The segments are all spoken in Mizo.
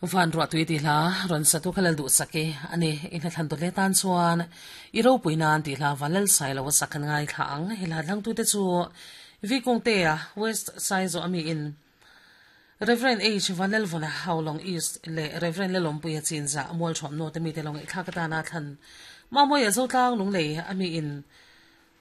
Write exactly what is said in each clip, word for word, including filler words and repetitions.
Van ruah tui ti hla rawn satu kha lal duh sak e ani in hla thlan dawt leh tan chuan i ropui nan tih hla van lal sai lo a sak an ngai thla ang he hla thlang tute chu Vikungtea West Saizaw ami in Reverend H Vanlalvawna Haulawng East leh Reverend Lalawmpuia Chinzah Mualthuam North ami te lo ngaihthlak atana thlan Mamawia Zotlang Lunglei ami in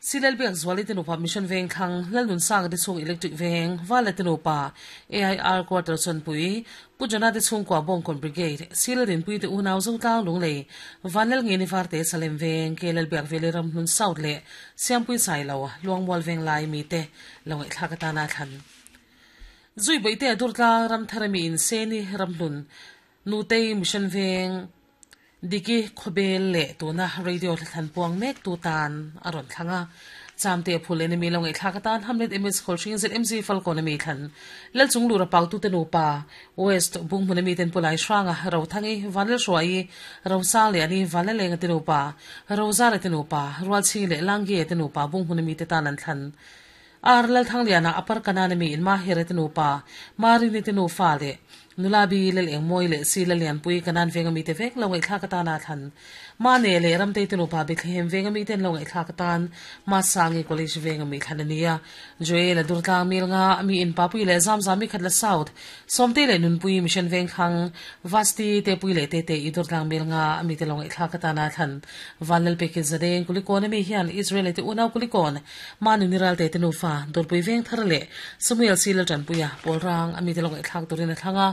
Silel Biak Zuali te nupa Mission Veng thlang Lalnun Sanga te chhung Electric Veng Vala te nupa A I R Quarter Chawnpui Pu Jona te chhungkua Bawngkawn Brigade Silel Rinpui te unau Zotlang Lunglei Vanlal Ngeni Varte Salem Veng Kelel Biak Veli Ramhlun South leh Siampui Sailo Luangmual Veng lai mi te lo ngaihthlak atana thlan Zui Baihte a Durtlang Ramthar ami in Seni Ramhlun Nutei Mission Veng Diki Khawbel leh tuna radio thlan puang mek tu tan a rawn thlang a. Chamte phul enemy lo ngaihthlak atan Hamlet M S Khawlhring Z M Z Falcon ami thlan Lalchung lura pau tu te nupa West Bunghmun ami ten pulai hranga ro thangi Vanlal Hruai ro sang leh ani Vanlal lenga te nupa Roza le te nupa Rualching leh Langge te nupa Bunghmun ami te tan an thlan Ar Lal Thangliana Upper Kanan ami in Mahire te nupa Marini te nufa leh Nulabi lel eng moi leh si lal lianpui kanan veng ami te vek lo ngaihthlak atana thlan ma ne leh ramtei te nupa Bethlehem veng ami ten lo ngaihthlak atan ma sangi college veng ami thlan ania Joel a Durtlang mil nga ami in papui leh zamzami khatla south somte leh nunpui mission veng thlang vasti te pui leh te te i Durtlang mil nga ami te lo ngaihthlak atana thlan vanlal peke zadeng kulikon ami hian Israel te unau kulikon ma nuniral te te nufa dorpui veng thar leh Samuel silal tanpuia polrang ami te lo ngaihthlak turin a thlanga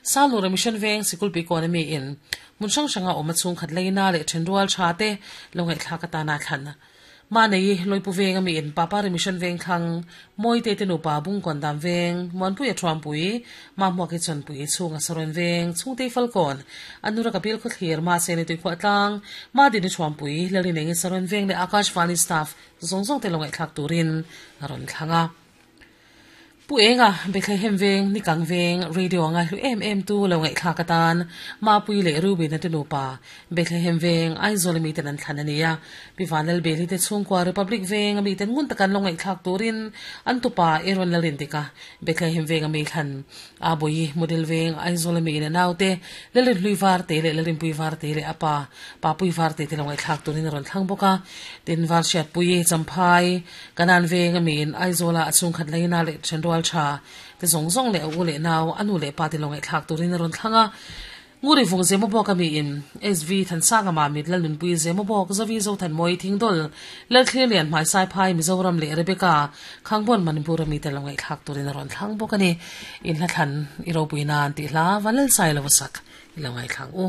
Salura Mission Veng Sikul pi economy in mun sang sanga awm a chhung khat leina leh thenrual tha te lo ngaihthlak atana thlan ma nei loipu veng ami in papa re Mission Veng thlang moi te te nupa bung kon dam veng monpui a thuampui ma hmuak hi chawnpui chhunga saron veng chhungte falkawn anura kapil khaw thlir ma se ni tui khuah tlang ma din thuampui lalin eng saron veng leh Akashvani staff zawng zawng te lo ngaihthlak turin a rawn thlanga Pu enga Bethlehem veng nikang veng radio nga hlu em em tu lo ngaihthlak atan ma pui leh Ruby na te nupa Bethlehem veng Aizawl mi ten an thlan ania pi Vanlal Beli te chhungkua Republic veng ami ten ngun takan lo ngaihthlak turin an tupa Aaron Lalin tika Bethlehem veng ami thlan a boi model veng Aizawl mi in naute lalin hlui var te leh lalin pui var te leh apa pa pui var te te lo ngaihthlak turin rawn thlang bawka tin var hriat pui champhai kanan veng ami in Aizawla a chhung khat leina leh thenrual tha te zong zong leh u leh nau anu leh pa te lo ngaihthlak turin rawn thlanga nguri vung zemo bawk ami in S V Thansanga ma mit lal nunpui zemo bawk zavi zo than moi thingdol lal thlir lian hmai sai phai Mizoram leh Rebecca Khangbon Manipur ami te lo ngaihthlak turin rawn thlang bawk ani in hla thlan i ropui nan tih hla vanlal sai lo sak i lo ngaihthlak u.